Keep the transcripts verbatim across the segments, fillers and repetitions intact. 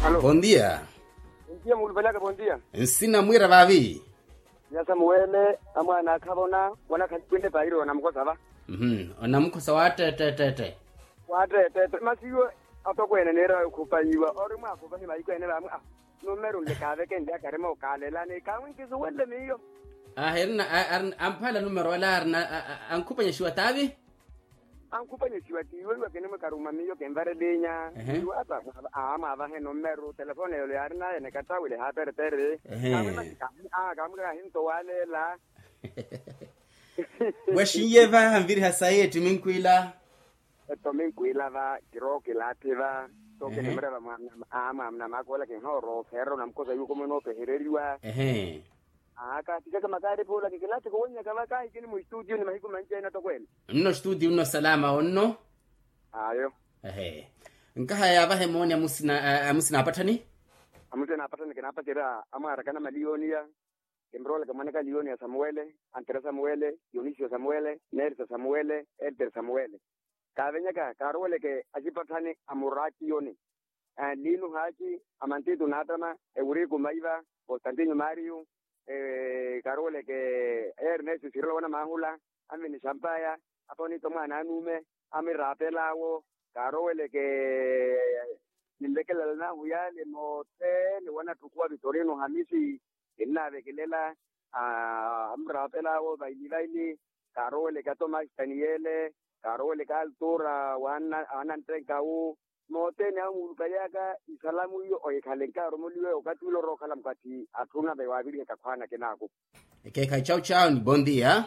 Bondia. Bondia muulupalaka bondia. Nsina mwiira vaavi? Nyasa muwele amwaana akhavona. Wanakhalikwinle pairo namukhosa va. Onamukhosa waatteetteettette. Waatteetteette masi iwe. Atokweene niira okhupanyiwa ori mwaakhupanyi mahiku ene vaamwi a. Numeru nle kaavekenle akarima okaaleelani kaamwi nkisuwenle miyo. Aahirina. Amphaala numeru ale arina ankhupanyexiwa taavi. Ankhupanyesiwa tiiweiwa kinimwikaruma miyo kinvarelinya. Iwata. Amwavahe numeru telefone yolo yaarinaye nikattawile haaperetere. Kamwimasi kaamwika kahinto waaleela. Wexinye vaha nviriha sayi ettimi nkwila. Ettimi nkwila va kirookilaatthi va. Sookinimureva mwaamuna maakoola kinhooro feerera onamukhosa yuko mwe noopehereriwa. Kaattikaka makaari phuula kikilaatthika owennyaka va kaahikini mustuutiyo ni mahiku manci ene atokweene. Nno stuutiyo nno salama onno. Ayo. Ehe. Nkahaya yaavaha emooni amusina aapatthani. Amusina aapatthani kinaapacerya amwaarakana maliyooniya. Kimroolaka mwanaka liyooniya samuwele, antere samuwele, dionisio samuwele, nerisa samuwele, eltere samuwele. Kaavenyaka kaaroweleke acipatthani a muraatiyoni. Liinu haaci, amantitu naattama, ewuriku maiva, konstantinyo maariyu. Kaaroweleke ernesto sirilo wana maahula, anvini xampaya, aponito mwaana anuume, amiraapelaawo. Kaaroweleke ninlekelela nahu yaale mothene wanatthukuwa vitorino hamisi. Kinnaavekelela amuraapelaawo vaili vaili. Kaaroweleke atomasi taniyele, kaaroweleke altura. Wananttenkawu. Mothene awo muulupaliyaka isalamu iyo ohikhale nkaaromoliwe okathi ule orookhala mukathi atthu nave waavirihaka khwaana kinaaku. Ekeekhayi chawu chawu ni bondia.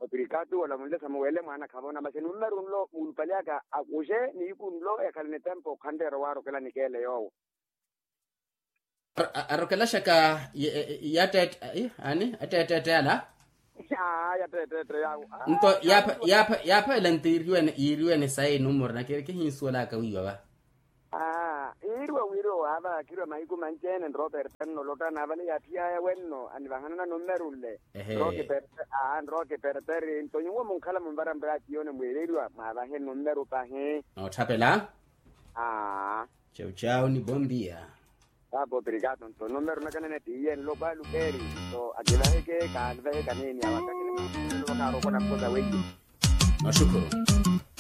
Opirikatu olamunle samuwele mwaana khavona masi numeru nlo muulupaliyaka akuxe nihiku nlo yakhale nitempo okhanteera owaarokela nikeele yoowo. Arokelaxaka yatteette ani atteetteette ala. Nto yaapha yaapha yaapha ela nto yiiriwene sayi numuru na kihinsuwelaka wiiwa va. Yiiriwa wiiriwa waava khiriwa mahiku manci ene nroperta nno lotta naavale yaaphiyaya wenno anivahanana nummeru nle. Nrookiperteri nto nyuwo munkhala munvara mraatiyoni mwiireriwa mwaavahe nummeru pahi. Nootthapela. Chawu chawu ni bondia. Paapa opirikatu nto nummeru nakanene tiiye nlo kwaalukeeri. Nto akivaheke kaalivaheka niini awo akakele mwaakhumelelo vakaaroko namukhosa weiye. Maxukhuru.